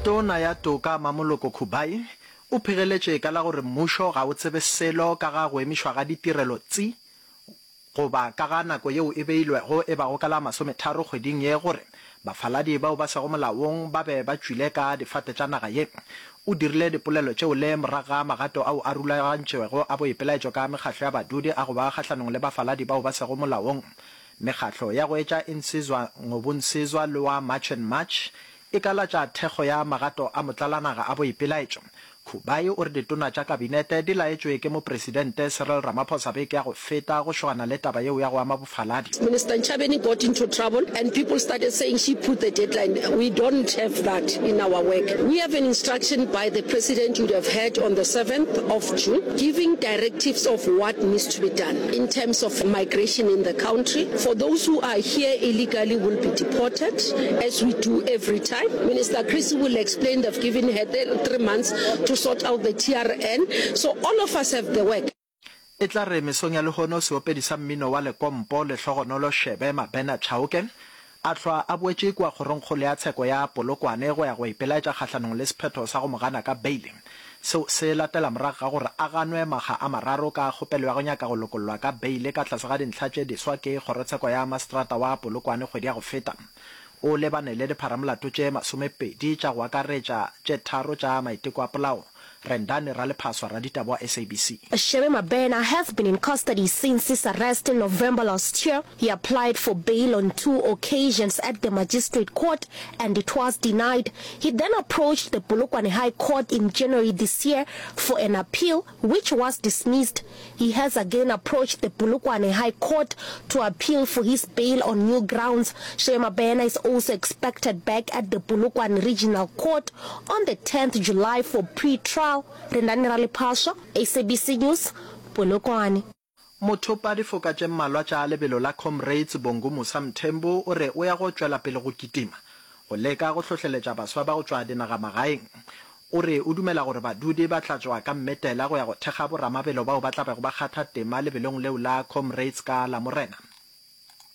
Tona ya Toka Mamoloko Kubayi o phegeletše ka la gore mmušo ga o tsebe selo ka ga go emišwa ga ditirelo tsi goba ka ga nako yeo e beilwego e bago ka la masometharo kgweding ye gore bafaladi bao ba sego molaong ba be ba tšwile ka difate tša naga ye. O dirile dipolelo tšeo le morago ga magato ao a rulagantšwego a boipelaetšo ka mekgahlo ya badudi a go ba kgahlanong le bafaladi bao ba sego molaong. Mekgahlo ya go etša Insizwa Ngobunsizwa le wa March and March e ka latša thekgo ya magato a motlalanaga a boipelaetšo. Khubai o re ditona tša kabinete di laetšwe ke Mopresidente Cyril Ramaphosa beke ya go feta go šogana le taba yeo ya go ama bofaladi. Minister Ntshavheni got into trouble and people started saying she put the deadline. We don't have that in our work. We have an instruction by the President you would have heard on the 7th of June giving directives of what needs to be done in terms of migration in the country. For those who are here illegally will be deported as we do every time. Minister Creecy will explain they've given her 3 months to sort out the TRN. So all of us have the work. E tla re mesong ya lehono seopedi sa mmino wa lekompo Lehlogonolo Shebe Mabena Chauke a hlwa a boetše kua kgorongkgolo ya tsheko ya Polokwane go ya go ipelaetša kgahlanong le sephetho sa go mo gana ka beile. Seo se latela morago ga gore a ganwe makga a mararo ka kgopelo ya go nyaka go lokollwa ka beile ka tlase ga dintlha tše diswa ke kgorotsheko ya maseterata wa Polokwane kgwedi ya go feta. O lebane le dipharamolato tše masomepedi tša go akaretša tše tharo tša maiteko a polao. Rendani Ralephaswa, raditaba wa SABC. Shebe Mabena has been in custody since his arrest in November last year. He applied for bail on two occasions at the magistrate court and it was denied. He then approached the Polokwane High Court in January this year for an appeal, which was dismissed. He has again approached the Polokwane High Court to appeal for his bail on new grounds. Shebe Mabena is also expected back at the Polokwane Regional Court on the 10th July for pre-trial. Rendani Ralephaswa, SABC News, Polokwane. Mothopa difoka tše mmalwa tša lebelo la Comrades Bongumusa Mthembu o re o ya go tšwela pele go kitima go leka go hlohleletša baswa ba go tšwa dinagamagaeng. O re o dumela gore badudi ba tla tšwa ka mmetela go ya go thekga boramabelo bao ba tla bego ba kgatha tema lebelong leo la Comrades ka Lamorena.